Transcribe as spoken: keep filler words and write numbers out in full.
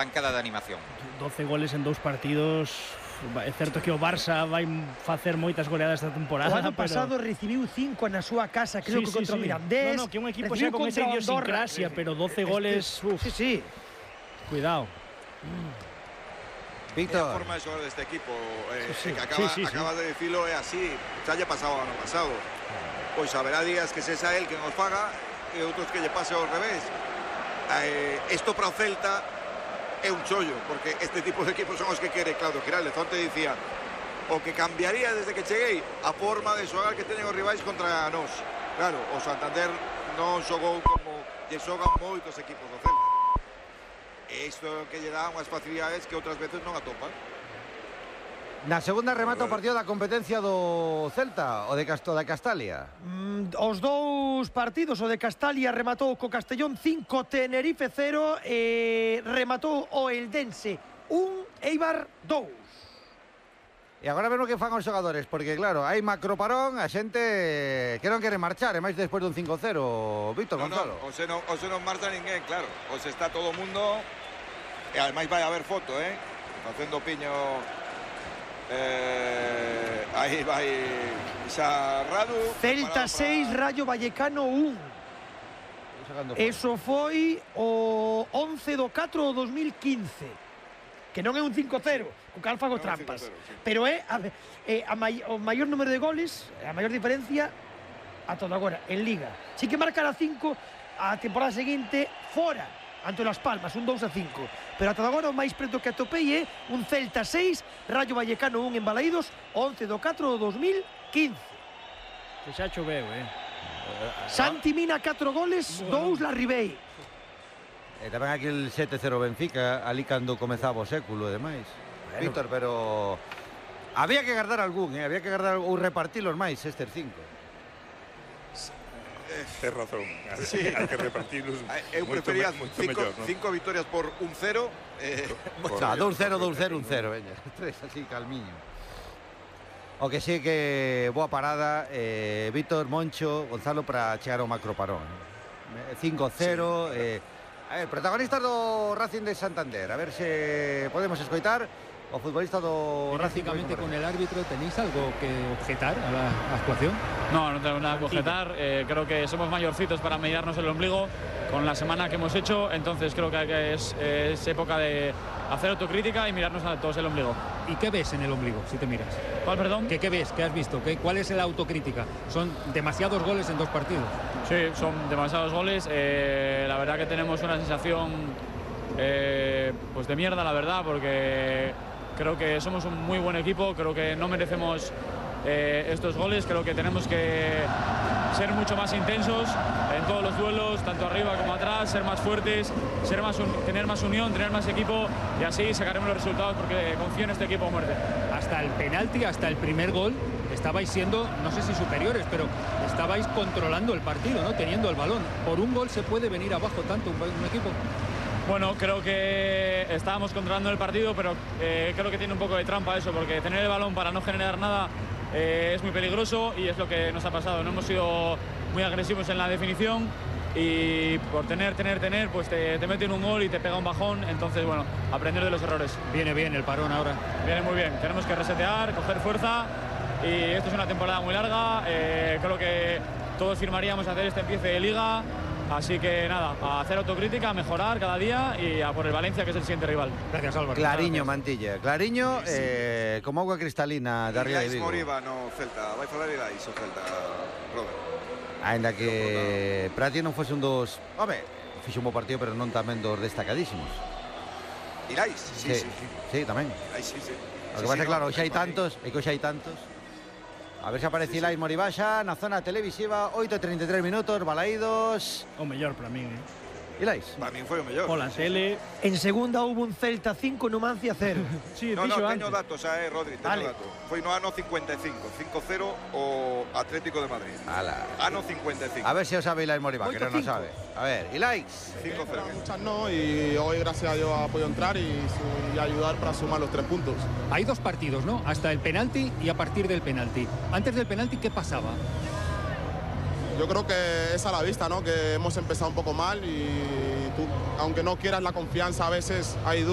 bancada de animación. doce goles en dous partidos. É certo que o Barça vai facer moitas goleadas esta temporada. O ano pero... pasado recibiu cinco na súa casa, creo sí, que contra sí, o Mirandés. No, no, que un equipo xa con esa idiosincrasia, pero doce goles, uf. Sí, sí. Cuidado. Víctor. La forma de jugar de este equipo, eh, sí, sí. que acaba, Sí, sí, sí. acabas de decirlo, é así. Xa lle pasado o ano pasado. Pois haberá días que sexa el que nos faga e outros que lle pase ao revés. Eh, esto para o Celta é un chollo, porque este tipo de equipos son os que quere Claudio Giraldez. Onte dicía, o que cambiaría desde que cheguei a forma de xogar que teñen os rivais contra nós. Claro, o Santander non xogou como lle xogan moitos equipos do Celta. E isto que lle dá unhas facilidades que outras veces non atopan. Na segunda remata o partido da competencia do Celta, o de Casto da Castalia. Mm, os dous partidos, o de Castalia rematou co Castellón cinco, Tenerife cero, e rematou o Eldense un, Eibar dous. E agora vemos que fan os xogadores, porque claro, hai macroparón, a xente que non quere marchar, e máis despois dun cinco cero, Víctor No, Gonzalo. no, o se non, o se non marcha ninguén, claro. O se está todo o mundo, e ademais vai haber foto, eh? Facendo piño. Eh, aí vai xa Radu. Celta seis, Rayo Vallecano un. Eso foi o once do catro do dos mil quince. Que non é un cinco cero, co cal fago Non, trampas. cinco cero, sí. Pero é a, é a mai, o maior número de goles, a maior diferencia a todo agora, en Liga. Si que marcará cinco a temporada seguinte fora, ante Las Palmas, un dous a cinco. Pero ata agora o máis preto que atopei é un Celta seis, Rayo Vallecano un en Balaídos, once do catro do dos mil quince. Que xa choveu, eh. Santi Mina catro goles, dous la Ribey. E tamén aquí el sete cero Benfica, ali cando comezaba o século e demais. Bueno. Víctor, pero había que guardar algún, eh? Había que guardar ou repartilos máis estes cinco. Tens razón, Sí. hai que repartirlos. Eu prefería moito cinco, mellor, ¿no? cinco victorias por un cero. Eh, Xa, dous cero, dous cero, un cero, veña. Tres así, calmiño. O que sí que boa parada, eh, Víctor, Moncho, Gonzalo, para chegar ao macroparón. cinco cero, sí, eh, a ver, protagonistas do Racing de Santander. A ver se podemos escoitar o futbolista do Racing. Prácticamente con el árbitro, ¿tenéis algo que objetar a la actuación? No, no tengo nada que objetar. Eh, creo que somos mayorcitos para mirarnos el ombligo con la semana que hemos hecho. Entonces creo que es, es época de hacer autocrítica y mirarnos a todos el ombligo. ¿Y qué ves en el ombligo, si te miras? ¿Cuál, perdón? ¿Qué, qué ves? ¿Qué has visto? ¿Qué, ¿Cuál es la autocrítica? Son demasiados goles en dos partidos. Sí, son demasiados goles. Eh, la verdad que tenemos una sensación eh, pues de mierda, la verdad, porque creo que somos un muy buen equipo. Creo que no merecemos eh, estos goles. Creo que tenemos que ser mucho más intensos en todos los duelos, tanto arriba como atrás, ser más fuertes, ser más tener más unión, tener más equipo, y así sacaremos los resultados, porque confío en este equipo a muerte. Hasta el penalti, hasta el primer gol, estabais siendo, no sé si superiores, pero estabais controlando el partido, ¿no? Teniendo el balón. Por un gol se puede venir abajo tanto un, un equipo. Bueno, creo que estábamos controlando el partido, pero eh, creo que tiene un poco de trampa eso, porque tener el balón para no generar nada eh, es muy peligroso, y es lo que nos ha pasado. No hemos sido muy agresivos en la definición, y por tener, tener, tener, pues te, te meten un gol y te pega un bajón. Entonces, bueno, aprender de los errores. Viene bien el parón ahora. Viene muy bien. Tenemos que resetear, coger fuerza, y esto es una temporada muy larga. Eh, creo que todos firmaríamos hacer este empiece de Liga. Así que nada, a hacer autocrítica, a mejorar cada día y a por el Valencia, que es el siguiente rival. Gracias, Álvaro. Clariño, Gracias. Mantilla. Clariño, eh, como agua cristalina de arriba de Ilais Vigo. Moriba no Celta, vai falar Ilais o Celta, Robert. Ainda que para ti non fose un dos... Home, fixo un bo partido, pero non tamén dos destacadísimos. Ilais, sí, sí, sí. Sí, sí tamén. Ilais, sí, sí. O Sí, que pasa sí, é claro, no, xa hai Ilais tantos, é que xa hai tantos. A ver se aparece Ilais Moribaxa na zona televisiva, oito e treinta e tres minutos, Balaídos. O mellor para min, eh. Ilais. Para min foi o mellor. Pola tele. En segunda hubo un Celta cinco, Numancia cero. Sí, No, no, dixo teño antes. datos, xa, eh, Rodri, teño Vale. datos. Foi no ano cincuenta e cinco, cinco cero o Atlético de Madrid. Ala. Ano cincuenta y cinco. A ver si o sabe Ilais Moriba, que Oito, non o cinco. sabe. A ver, Ilais. cinco cero. Muchas no, y hoy gracias a Dios ha podido entrar y, su- y ayudar para sumar los tres puntos. Hay dos partidos, ¿no? Hasta el penalti y a partir del penalti. Antes del penalti, ¿qué pasaba? Yo creo que es a la vista, ¿no? Que hemos empezado un poco mal y tú, aunque no quieras la confianza, a veces hay dudas.